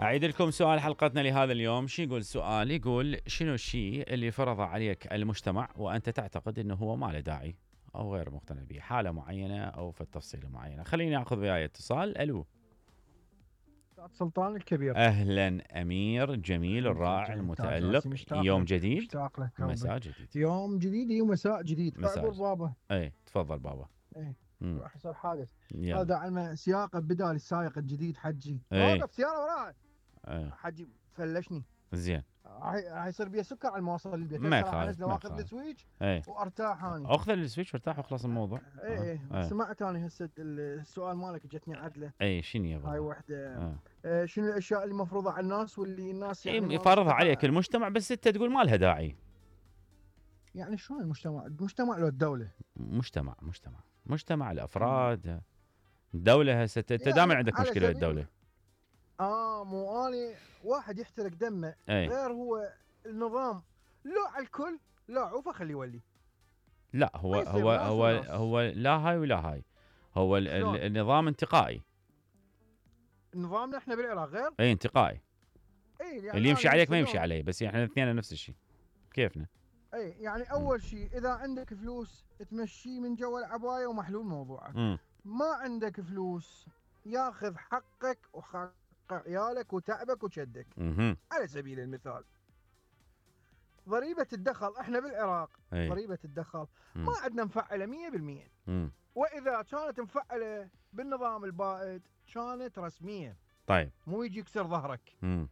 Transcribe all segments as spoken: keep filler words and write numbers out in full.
أعيد لكم سؤال حلقتنا لهذا اليوم. شو يقول السؤال؟ يقول شنو الشيء اللي فرض عليك المجتمع وأنت تعتقد أنه هو ما له داعي أو غير مقتنع به، حالة معينة أو في التفصيلة معينة. خليني أخذ وياي اتصال. ألو سلطان الكبير. أهلا أمير جميل الرائع المتألق. يوم جديد مشتاق لك. مساء جديد. يوم جديد ومساء جديد. مساء اعذر بابا. اي تفضل بابا. اي راح يصير حادث. يلا. هذا علم سياقه بدال السائق الجديد حجي. ايه. اوقف سيارة وراي. ايه. حجي فلشني. زين. راح يصير بي سكر على ما اوصل البيت. ما يخالف. واخذ السويتش ايه. وارتاح اني. اخذ السويتش وارتاح وخلص الموضوع. اي اي آه. سمعت انا هسه السؤال مالك جتني عدله. اي شنو يا بابا؟ هاي وحده. آه. آه شنو الاشياء اللي مفروضه على الناس واللي الناس يعني يفرضها عليك المجتمع بس انت تقول ما لها داعي. يعني شلون المجتمع؟ المجتمع لو الدوله؟ مجتمع مجتمع مجتمع الافراد. الدوله هسه انت دائما عندك مشكله الدوله. اه مو اني واحد يحترق دمه أي. غير هو النظام لا على الكل لا عوفه خليه يولي. لا هو هو هو هو لا هاي ولا هاي. هو النظام انتقائي. نظامنا احنا بالعراق غير؟ اي انتقائي. اي يعني اللي يمشي عليك ما يمشي علي، بس احنا الاثنين نفس الشيء. كيفنا؟ اي يعني اول شيء اذا عندك فلوس تمشي من جو العبايه ومحلول موضوعك. م. ما عندك فلوس ياخذ حقك وحق عيالك وتعبك وشدك. م- على سبيل المثال ضريبة الدخل احنا بالعراق. أي. ضريبة الدخل م. ما عندنا مفعلة مية بالمية. م. واذا كانت مفعلة بالنظام البائد كانت رسمية. طيب مو يجي يكسر ظهرك. م.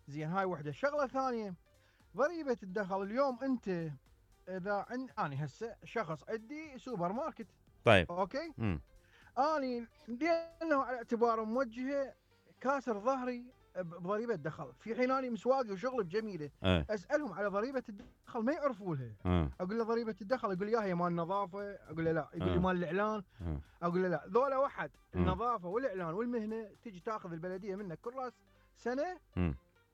زين هاي وحدة. شغلة ثانية ضريبة الدخل اليوم انت اذا عند اني هسه شخص عندي سوبر ماركت. طيب اوكي. م. اني لانه على اعتباره موجهه كاسر ظهري بضريبه دخل، في حين اني مسواقي وشغل بجميله. أه. اسالهم على ضريبه الدخل ما يعرفوا لها. أه. اقول له ضريبه الدخل، يقول لي يا هي مال النظافه، اقول له لا، يقول لي أه. مال الاعلان. أه. اقول له لا، ذولا واحد. أه. النظافه والاعلان والمهنه تجي تاخذ البلديه منك كل راس سنه. أه.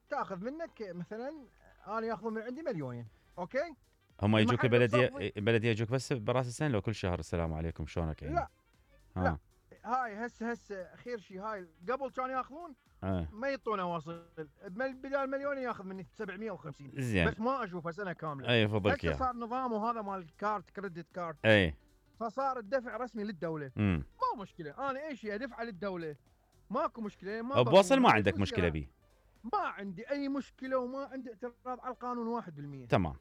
تاخذ منك مثلا انا ياخذون من عندي مليونين. اوكي. هم يجوك البلديه البلديه يجوك بس براس السنه لو كل شهر السلام عليكم شلونك يعني؟ لا ها. لا هاي هسه هسه خير شيء. هاي قبل كانوا ياخذون أه. ما يعطونه واصل بدال مليون ياخذ مني سبعمية وخمسين. زين. بس ما اشوفه سنه كامله. اي فضلك هسه صار نظامه هذا مال الكارت كريدت كارد. اي فصار الدفع رسمي للدوله. امم ما مشكله انا اي شيء ادفعه للدوله ماكو مشكله. ما بوصل ما عندك مشكله بيه. ما عندي اي مشكله وما عندي اعتراض على القانون واحد بالمية. تمام.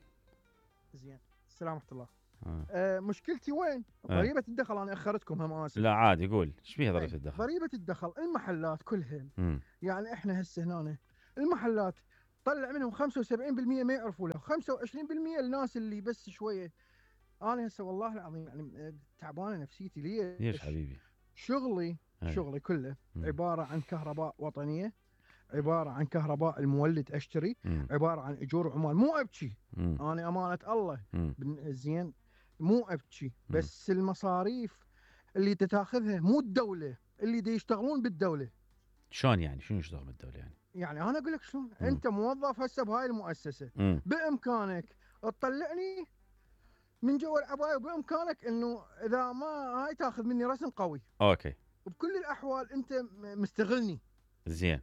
زين السلام ورحمه الله. آه. آه مشكلتي وين؟ آه. ضريبه الدخل. انا اخرتكم هم اسف. لا عادي قول ايش فيها ضريبه الدخل؟ ضريبه الدخل المحلات كلها. م. يعني احنا هسه هنا المحلات طلع منهم خمسة وسبعين بالمية ما يعرفوا له، خمسة وعشرين بالمية الناس اللي بس شويه. انا هسه والله العظيم يعني تعبانه نفسيتي. ليش؟ ليش حبيبي؟ شغلي هي. شغلي كله م. عباره عن كهرباء وطنيه، عباره عن كهرباء المولد اشتري، م. عباره عن اجور عمال. مو ابكي م. انا امانه الله. م. زين مو ابكي بس المصاريف اللي تتاخذها مو الدوله اللي دي يشتغلون بالدوله. شلون يعني؟ شنو يشتغل بالدوله يعني؟ يعني انا اقول لك شلون. انت موظف هسه بهاي المؤسسه. م. بامكانك تطلعني من جوا العبايه، وبامكانك انه اذا ما هاي تاخذ مني رسم قوي. اوكي. وبكل الاحوال انت مستغلني. زين.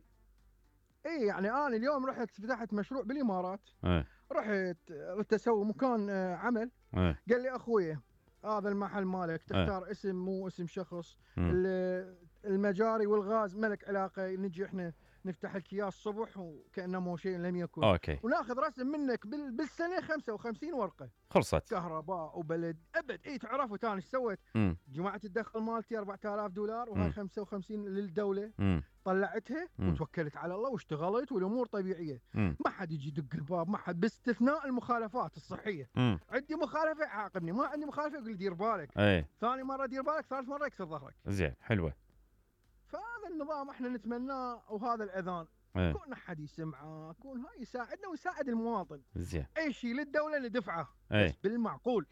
اي يعني انا اليوم رحت فتحت مشروع بالامارات. اه. رحت رحت اسوي مكان عمل. اه. قال لي اخويا هذا المحل مالك تختار اه. اسم مو اسم شخص. المجاري والغاز ملك علاقه، نجي احنا نفتح لك اياه الصبح وكانه مو شيء لم يكن. اوكي. وناخذ رسم منك بالسنه خمسة وخمسين ورقه. خلصت. كهرباء وبلد ابد. اي تعرفوا ثاني ايش سويت؟ جماعه الدخل مالتي أربعة آلاف دولار وهاي خمسة وخمسين للدوله. م. طلعتها م. وتوكلت على الله واشتغلت والامور طبيعيه. م. ما حد يجي يدق الباب، ما حد، باستثناء المخالفات الصحيه. م. عندي مخالفه يعاقبني، ما عندي مخالفه يقول لي دير بالك. اي. ثاني مره دير بالك، ثالث مره يكسر ظهرك. زين حلوه. فهذا النظام احنا نتمناه، وهذا الاذان ايه. كون احد يسمعه، كون هاي يساعدنا ويساعد المواطن. زين. اي شيء للدوله ندفعه. ايه. بس بالمعقول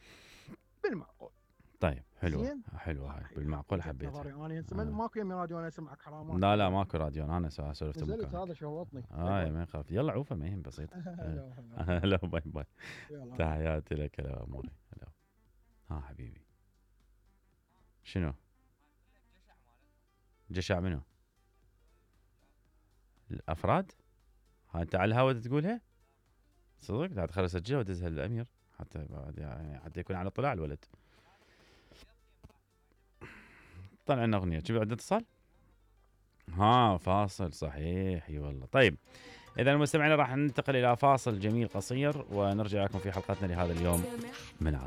بالمعقول. طيب حلوه حلوه هاي بالمعقول حبيتها. انا آه. ماكو يمي راديو انا اسمعك حرام. لا لا ماكو راديو، انا سولفت نزلت هذا شوطني. اه ما يخاف. يلا عوفه ما يهم بسيط. هلا باي باي. تحياتي لك يا اموري. هلا ها حبيبي. شنو؟ جشع منو؟ الافراد ها انت على الهواء تقولها صدق؟ لا تخلي اسجلها وادزها للامير حتى يعني حتى يكون على اطلاع الولد. طلع لنا اغنيه شوف عندنا اتصال ها فاصل صحيح اي والله. طيب اذا المستمعين راح ننتقل الى فاصل جميل قصير ونرجع لكم في حلقتنا لهذا اليوم من عرب.